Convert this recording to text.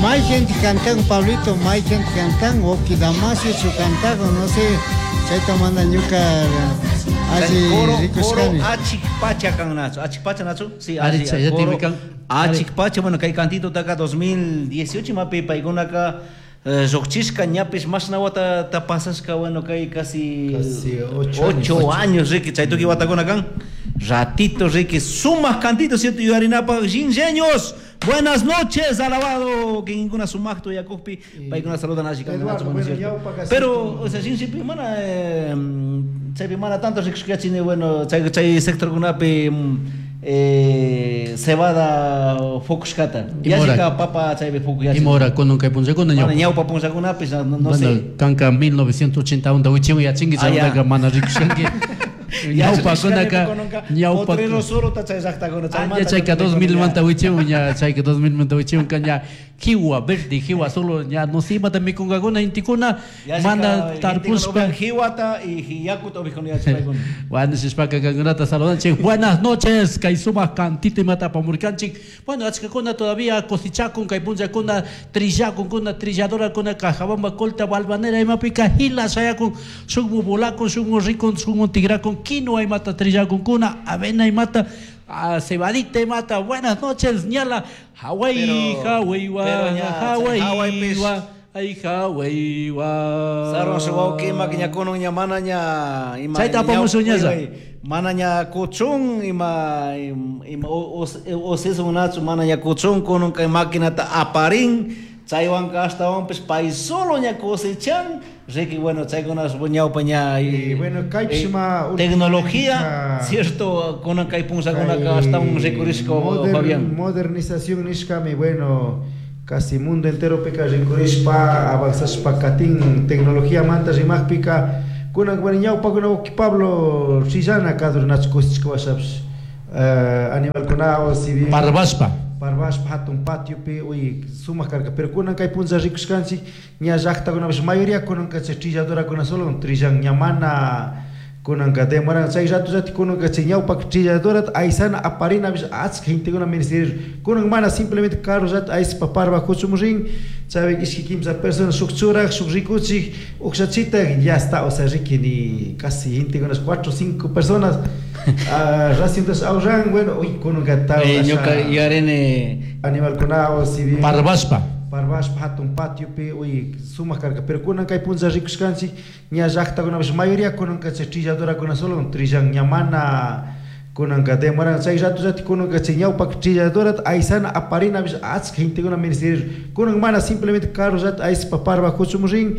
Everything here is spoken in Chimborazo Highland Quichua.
May gente cantan, Pablito, may gente cantan, Oki Damasio chu cantago, no sé, chayta mana ñuka alli Coro, coro rikushkani. Achik Pacha kan nachu. Achik Pacha nachu? Sí, Ari, alli, chayati coro mikan. Achik Pacha, bueno, kay cantito taka 2018 mapi paykunaka lluqchishka ñapish mashna watata pasashka, bueno, kay casi Casi 8 8 años. Años, riki, chay tukuy watakuna kan. Ratito, riki, sumaq cantito, cierto, yuyarinapaq shinlleños. Buenas noches, alabado, que ninguna sumaqto yakukpi, paykuna saludan alli kan, Eduardo, nachu, bueno, bueno, cierto. ñawpaka Pero, cierto. o sea, shinllipi mana chaypi mana tanto rikushkachini, bueno, chay sectorkunapi cebada fukushkata. Imora. Yallika papa chaypi fukuyachin. Imora kunan kay punllakuna Mana ñawpa. ñawpa punllakunapi, no, no Bueno, sé. kanka 1980 wichiwan yachinki, Ah, ya. chaymantaqa mana rikushanki. Ñawpakunaka ñawpa Potrero solo ta chay llaqtakuna Ah, chaymanta ya chayka 2000 manta wichiwan ña, chayka 2000 manta wichiwan ka ña kiwa verde, kiwa solo ña no sé imata mikunkakuna intikuna mana tarpushpa. Jiwata y yakuta ubijuna yachapaykuna. Bueno, shishpaka kankunata saludanchik. Buenas noches, kay sumaq cantito imata apamurkanchik. Bueno, achkakuna todavía cosechakun, kay punllakuna trillakunkuna, trilladorakuna, Cajabamba, Colta, Balvanera, imapika hila shayakun, shukmu volakun, shukmu rikun, shukmu tigrakun, quinoa imata trillakunkuna, avena imata, ah, cebadita imata. Buenas noches, ñala, Hawaii, Hawaii, wa, Pero ña, Hawaii, Hawaii pis. wa, ay, Hawaii, wa. Sarwan wawqi ima ñakunun ña mana ña ima Chayta apamushun ñalla. Mana ña kuchun ima ima osisun nachu mana ña kuchun kunun kay maquinata aparin chaywanka ashtawanpish pay solo ña cosechan, riki, bueno, chaykuna ñawpa ña Y bueno, kaypish ima tecnología, cierto, kunan kay punllakunaka ashtawan rikurishka, Fabián. Modernización nishkami, bueno, casi mundo entero pika rikurishpa avanzashpa katin tecnología manta rimajpika kunan, bueno, ñawpakuna wawqi Pablo trillana kadur nachu cosechka washapish animalkunawan si bien Parvashpa. Parvashpa hatun patiopi uy sumaq karka, pero kunan kay punlla rikushkanchik ña llaqtakunapish mayoría kunanka chay trilladorakuna solo trillan, ña mana kunanka demoran chay rato llati kunanka chay ñawpak trilladorata aysana aparinapish achka gentekuna menester, kunan mana, simplemente carro llati ayspa parva kuchumun rin, chaypi ishki kimsa personas shuk churak, shuk rikuchik, ukshachitak, ya está, o sea, riki, ni casi gentekuna cuatro o cinco personas raciontas ahorran, bueno, uy, kunanka ta Ñuka yuyarini animalkunawan si bien Parvashpa. Parvashpa hatun patiopi uy sumaq karka, pero kunan kay punlla rikushkanchik ña llaqtakunapish mayoría kunanka chay trilladorakuna solo trillan, ña mana kunanka demoran chay rato llati kunanka chay ñawpak trilladorata aysana aparinapish achka gentekuna menester, kunan mana, simplemente carro llati ayspa parva kuchumun rin.